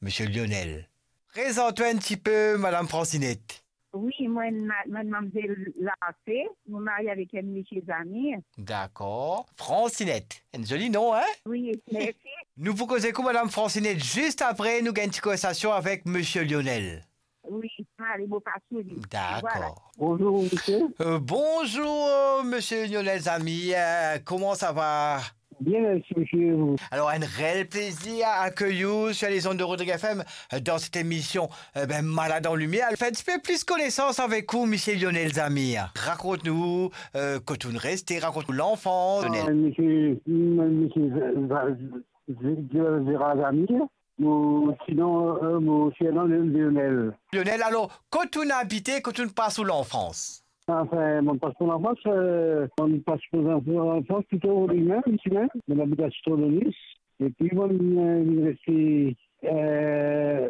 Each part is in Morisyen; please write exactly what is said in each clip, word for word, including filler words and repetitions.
Misie Lionel. Prezant nou enn tipe, Madam Francinette. Wi, mwa, ma-, mwa, manmzel Larse, mo marie avek enn misie Zamir. Dakor. Francinette, enn zoli non, hein? Wi, mersi. Nou pou koz ek ou, Madam Francinette, zis apre nou gagn ti konversasion avek Misie Lionel. Wi, ale, mo pas li. Dakor. Voilà. Bonzour, misie. Euh, bonzour, misie Lionel Zamir. Euh, kouma sa va? Bien, mersi, misie. Alor, enn reel plezir akeyir ou sur les ondes de Rodrigues F M, euh, dans cette émission, euh, ben, Malad an Limier. Fer enn tipe plis konesans avek ou, misie Lionel Zamir. Rakont nou, euh, kot ou reste, rakont nou lanfans, Lionel. Euh, misie, misie Za-, Za-, Za-, Zamir. Mo sinon, euh, mo surnom Lionel. Lionel, alor, kot ou abite, kot ou pas ou lanfans? Anfin, mo pas mo lanfans, euh, mo pas mo lanfans plito Rodrig mem, isi mem. Mo abit Sitron de Nice. Epi mo, euh, vinn reste, euh,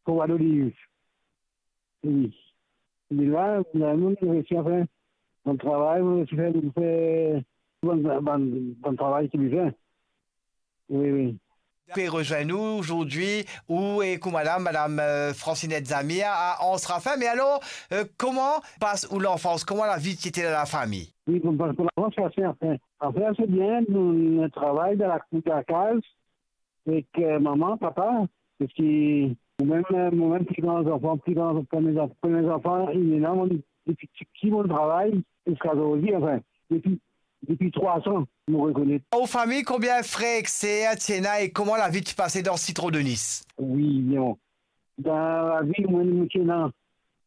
Croix d'Olive. Wi. Li la, la, nou, nou resi, anfin, bann travay, nou resi fer, nou fer bann, bann, bann travay ki bizin. Wi, wi. Pe rezwenn nou azordi, ou ek ou madam, madam, euh, Francinette Zamir a Anse Raffin. Me alor, euh, kouma pas ou lanfans? Kouma lavi ti ete dan lafami? Wi, kouma pas mo lanfans, se ase, anfin. Anfin, se bien, nou, nou travay dan lakour, dan lakaz. Ek, euh, mama, papa, parski momem, euh, momem pli gran zanfan, pli gran, premie zanfan, premie zanfan, ena, mo, depi tipti mo travay, ziska zordi, anfin, depi, depi trwa an, mo rekonet. Ou fami, konbien frer ek ser ti ena e kouma lavi ti pase dan Sitron de Nice? Wi, bon. Dan lavi, mo, mo ti ena,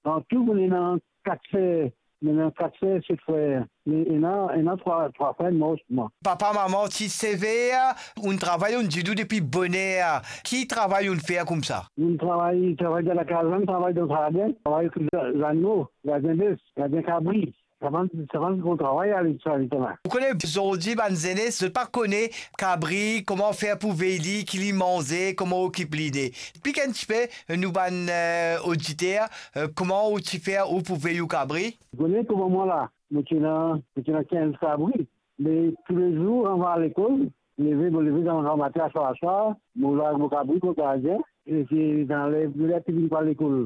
an tou, mo ena kat ser, mo ena kat ser, set frer. Me ena, ena trwa, trwa frer mor sima. Papa, mama ti sever, ou'nn travay, ou'nn didou depi boner. Ki travay ou'nn fer koumsa? Ou'nn travay, travay dan lakaz, ou'nn travay dan zardin, travay ek zanimo, gardien bef, gardien kabri. Sa bann, sa bann gran travay ale sa letan la. Ou kone, zordi bann zenes, zot pa kone kabri, kouma fer pou vey li, ki li manze, kouma okip li de. Explik enn tipe, euh, nou bann, euh, oditer, euh, kouma ou ti fer ou pou vey ou kabri? Ou kone kouma mwa la, mo ti ena, mo ti ena kinz kabri. Me toulezour, avan al lekol, leve, mo leve dan gramatin, aswar, aswar, mo larg mo kabri kot gardien, e se dan ler, ler ki vinn pou al lekol.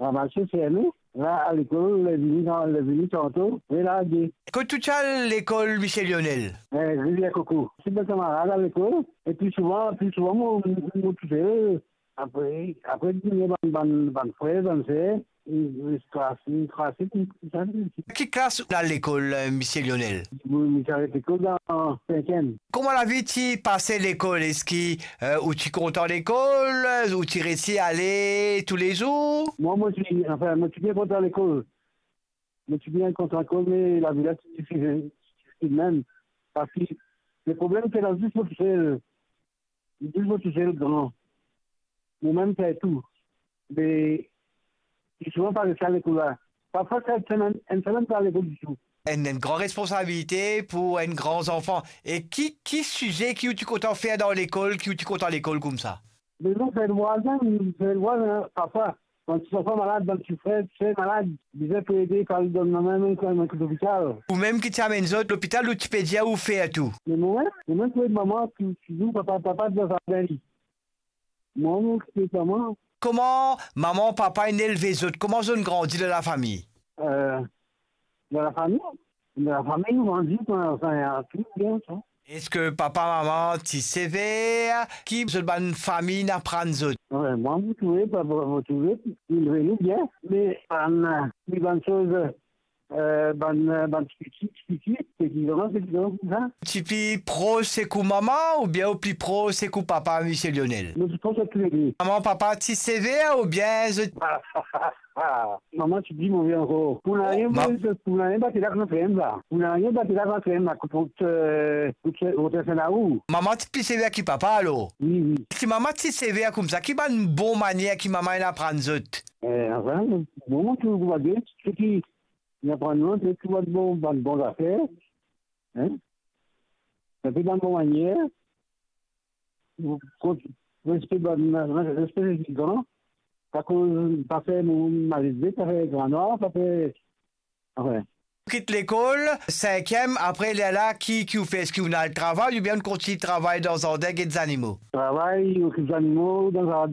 Ramase, fer nou, la, al lekol, ler vini, ler vini tanto, relarge. Kot ou ti al lekol, misie Lionel? Eh, Rivier Coco. Si bann kamarad al lekol, e pli souvan, pli souvan, mo, mo, mo tousel. Apre, apre, vinn bann, bann, bann frer, bann ser, li, li trase, li trase, li, li trase. Ki klas ou al lekol, euh, misie Lionel? Mo, mo ti aret lekol dan sinkiem. Kouma lavi ti pase lekol? Eski, euh, ou ti kontan lekol? Ou ti resi ale toulezour? Mwa, mo ti, anfin, mo ti bien kontan lekol. Mo ti bien kontan lekol, me lavi la ti difisil, difisil mem. Parski le problem, se la zis mo tousel. Zis mo tousel gran. Momem fer tou. Me, pli souvan pa res al lekol la. Parfwa, sa enn semenn, enn semenn pa al lekol ditou. Enn, enn gran responsabilite pou enn gran zanfan. E ki, ki size ki ou ti kontan fer dan lekol, ki ou ti kontan lekol koumsa? Me non, fer vwazin, fer vwazin, parfwa. Bann ti zanfan malad, bann ti frer, ti ser malad, bizin pou ede, pou al donn lanmin, mem kan, mem kan lopital. Ou mem ki ti amenn zot lopital, ou ti pe dir ou fer tou? Me momem, momem pou ed mama, tou, touzour papa, papa dan zardin li. Mwa, mo okipe mama. Kouma mama, papa inn elve zot? Kouma zot inn grandi dan lafami? Euh, dan lafami, dan lafami, nou grandi, anfin, tou bien, sa. Eski papa, mama ti sever? Ki zot bann fami inn aprann zot? Wi, mwa, mo trouve, pa, pa, mo trouve, inn elve nou bien, me bann, euh, bann soz, euh, bann, euh, bann ti piti, ti piti, peti gran, peti gran, koumsa. Ti pli pros ek ou mama oubien ou pli pros ek ou papa, misie Lionel? Nou ti pros ek toulede. Mama, papa ti sever oubien zot... Mama ti pli move ankor. Pou nanye, ma- pou nanye, bat la kan krem la. Pou nanye, bat la kan krem la, kot, euh, kot, euh, kot Saint-Laou. Mama ti pli sever ki papa, alor? Wi, wi. Si mama ti sever koumsa, ki bann bon manier ki mama inn aprann zot? Eh, anfin, bon, tou, tou, tou, tou, tou, Li aprann nou, se tou bann bon, bann bon zafer, hein? Enpe bann bon manier, kot, respe bann, respe lezot gran, pa koz, pa fer mo-, malelve, pa fer gran nwar, pa fer, anfin. Kit lekol, sinkiem, apre lerla, ki, ki ou fer? Eski ou al travay oubien ou kontign travay dan zardin, get zanimo? Travay, okip zanimo, dan zard-,